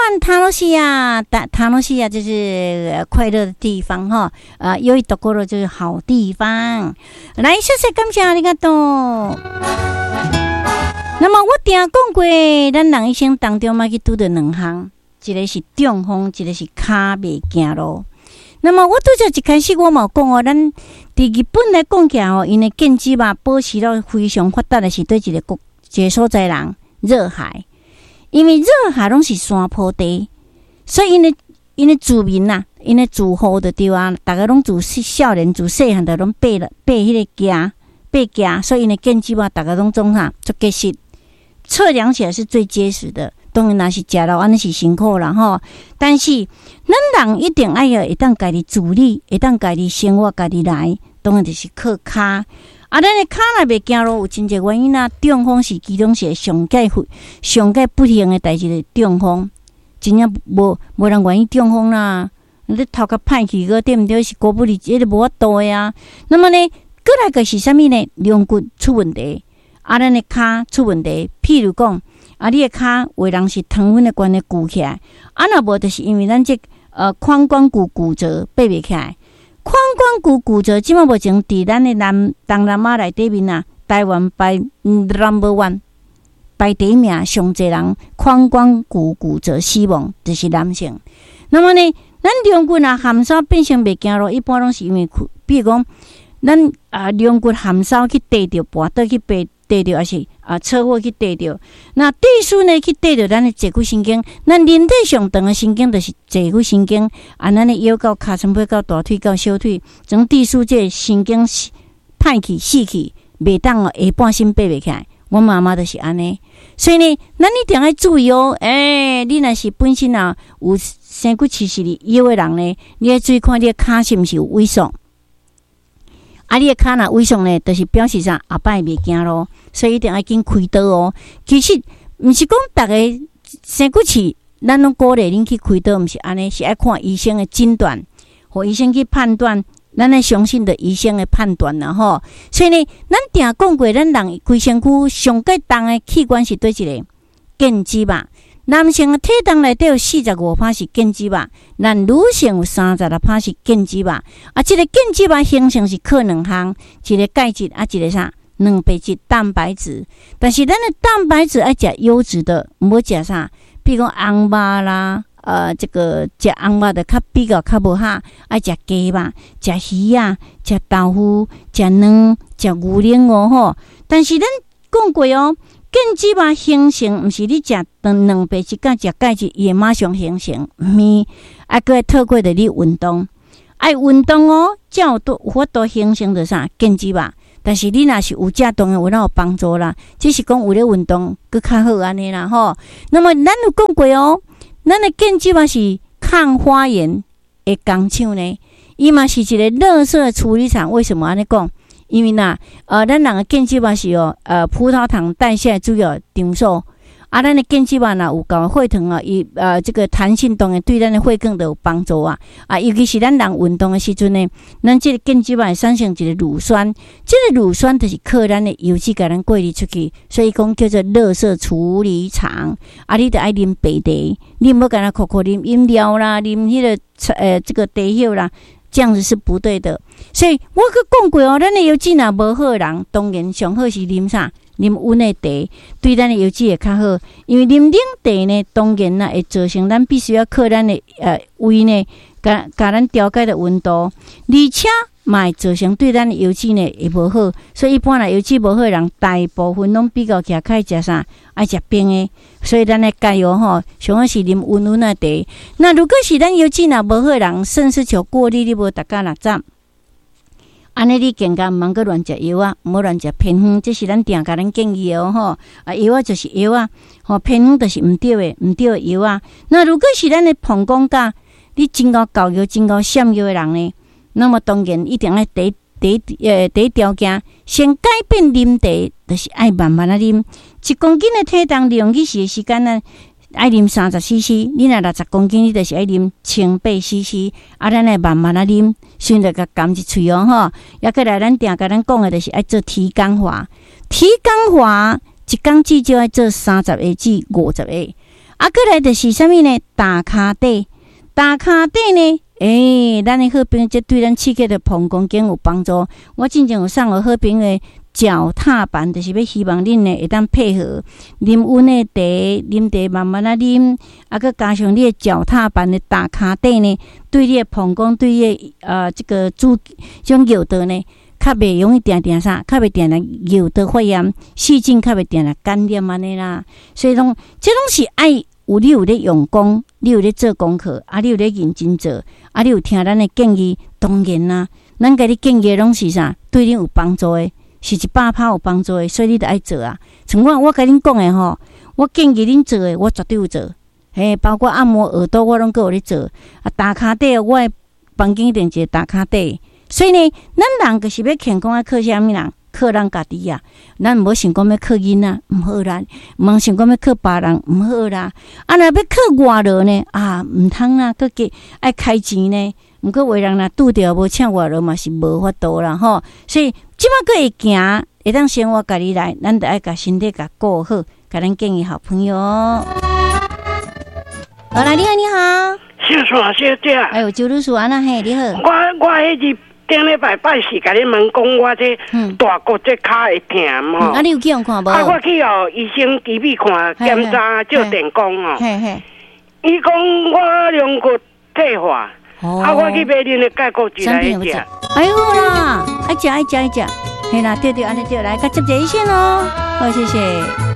湾楽しい啊，楽しい啊，就是快樂的地方哈。啊，良いところ就是好地方。來，謝謝感謝ありがとう。那麼我定講過，咱人一生當中嘛去拄著兩項，一個是中風，一個是跤袂行路。那麼我拄才一開始我嘛有講哦，咱佇日本來講起來吼，𪜶的腱子肉保持到非常發達的是佗一個國，一個所在人熱海，因為熱海攏是山坡地，所以𪜶的住民呐，𪜶的住戶就對啊，逐家攏自少年自細漢就攏爬了爬彼個行爬行，所以𪜶的腱子肉逐家攏總啥足結實，測量起來是最結實的。當然，若是食落按呢是辛苦啦吼，但是咱人一定愛會當家己自理，會當家己生活，家己來，當然就是靠跤。啊，咱的跤若袂行路，有真濟原因啊。中風是其中一個上蓋上蓋不幸的代誌，就是中風，真正無人願意中風啦。你頭殼歹去閣對毋對？是孤不離，這個無法度的啊。那麼呢，閣來個是啥物呢？龍骨出問題，啊，咱的跤出問題，譬如講，啊，你的跤有的人是糖分的關係鼓起來，啊，若無就是因為咱這髋關骨骨折爬袂起來。髋關骨骨折，這馬目前佇咱的南東南亞內底面啊，台灣排 number one 排第一名，上濟人髋關骨骨折死亡就是男性。那麼呢，咱龍骨若含梢變成袂行路，一般攏是因為，比如講，咱啊龍骨含梢去硩著，跋倒去爬。硩著，抑是啊車禍去硩著，那地鼠呢去硩著咱的坐骨神經，咱人體上長的神經就是坐骨神經，啊，咱的腰到尻川尾到大腿到小腿，將地鼠這個神經歹去死去，袂當哦下半身爬袂起來。我媽媽就是按呢，所以呢，咱一定愛注意哦。欸，你若是本身啊有生骨刺是佇腰的人呢，你愛注意看你的跤是毋是有萎縮。啊，你的跤若萎縮呢，就是表示啥？後擺袂行路，所以一定愛緊開刀哦。其實毋是講逐个生骨刺，咱攏鼓勵恁去開刀，毋是按呢，是愛看醫生的診斷，予醫生去判斷，咱愛相信著醫生的判斷啦吼。所以呢，咱定講過，咱人規身軀上蓋重的器官是佗一个腱子肉。男性的體重內底有45趴是腱子肉，咱女性有36趴是腱子肉。啊，這個腱子肉形成是靠兩項，一個鈣質啊，一個啥？蛋白質、蛋白質。但是咱的蛋白質愛食優質的，毋好食啥？比如講紅肉啦，這個食紅肉就較比較較無哈，愛食雞肉、食魚仔、食豆腐、食卵、食牛奶哦吼。但是咱講過哦，腱子肉形成，毋是你食蛋白質佮食鈣質，伊會馬上形成，毋是，啊，閣愛透過著你運動，愛運動哦，才有法度形成著啥腱子肉。但是你若是有食，當然有哪有幫助啦。只是講有咧運動，閣較好按呢啦吼。那麼咱有講過哦，咱的腱子肉是抗發炎的工廠呢，伊嘛是一個垃圾處理廠。為什麼按呢講？因為呐，咱人的腱子肉是哦，葡萄糖代謝主要場所。啊，咱的腱子肉若有夠血糖啊，伊這個彈性當然對咱的血管都有幫助啊。啊，尤其是咱人運動的時陣呢，咱這個腱子肉會產生一個乳酸，這個乳酸就是靠咱的油脂共咱過濾出去，所以講叫做垃圾處理廠。啊，你著愛啉白茶，你毋好干焦苦苦啉飲料啦，啉彼個這個茶葉啦。這樣子是不對的，所以我閣講過哦，咱的腰子若無好的人，當然上好是啉啥？啉溫的茶，對咱的腰子會較好。因為啉冷茶呢，當然啦會造成咱必須要靠咱的胃呢，共共咱調節的溫度，而且嘛會造成對咱的腰子呢會無好。所以一般來腰子無好的人，大部分攏比較起來較愛食啥？愛食冰的。所以咱愛加油吼，上好是啉溫溫的茶。那如果是咱腰子若無好的人，腎絲球過濾你無達到60，按呢你更加毋通閣亂食藥仔，毋好亂食偏方，這是咱定共咱建議的哦吼。啊，藥仔就是藥仔，吼偏方就是毋對的，毋對的藥仔。那如果是咱的膀胱甲你真𠢕厚尿、真𠢕閃尿的人呢？那麼當然一定愛第一條件，先改變啉茶，就是愛慢慢仔啉。1公斤的體重，利用日時的時間呢，愛啉30 cc。你若60公斤，你就是愛啉1800 cc。啊，咱愛慢慢仔啉，先著共含入喙哦吼。抑閣來，咱定共咱講的，就是愛做體感法。體感法一工至少愛做30下至50下。啊，閣來就是啥物呢？打跤底，打跤底呢？欸，咱的好朋友，這對咱刺激的膀胱經有幫助。我進前有送予好朋友的腳踏板，就是欲希望恁呢會當配合啉溫的茶，啉茶慢慢仔啉，啊，閣加上你的腳踏板的打跤底呢，對你的膀胱，對你的這個主這種尿道呢，較袂容易定定啥，較袂定定尿道發炎，細菌較袂定定感染按呢啦。所以講，這攏是愛有你有咧用功，你有咧做功課，啊，你有咧認真做，啊，你有聽咱的建議，當然啦，咱共你建議攏是啥，對你有幫助的，是100%有幫助的，所以你著愛做啊。像我，我共恁講的吼，我建議恁做的，我絕對有做。嘿，包括按摩耳朵，我攏閣有咧做。啊，打跤底，我的房間一定一個打跤底。所以呢，咱人就是欲健康，愛靠啥物人？靠咱家己啊！咱毋好想講欲靠囡仔，毋好啦；毋通想講欲靠別人，毋好啦。啊，若欲靠外勞呢？啊，毋通啦，閣加愛開錢呢。毋過有的人若拄著無請外勞嘛是無法度啦吼。所以這馬閣會行，會當生活家己來，咱著愛共身體共顧好，共咱建議好朋友。好來，你好，你好。小山小姐。哎喲，周女士，按怎嘿？你好。我彼日頂禮拜拜四共你問講，我這大骨這跤會疼吼。啊，你有去予看無？啊，我去予醫生醫美看檢查，照電光哦。伊講我龍骨退化，啊，我去買恁的鈣骨質來食。哎喲啦，愛食愛食愛食，嘿啦，對對，按呢對，來，共接一下線哦。好，謝謝。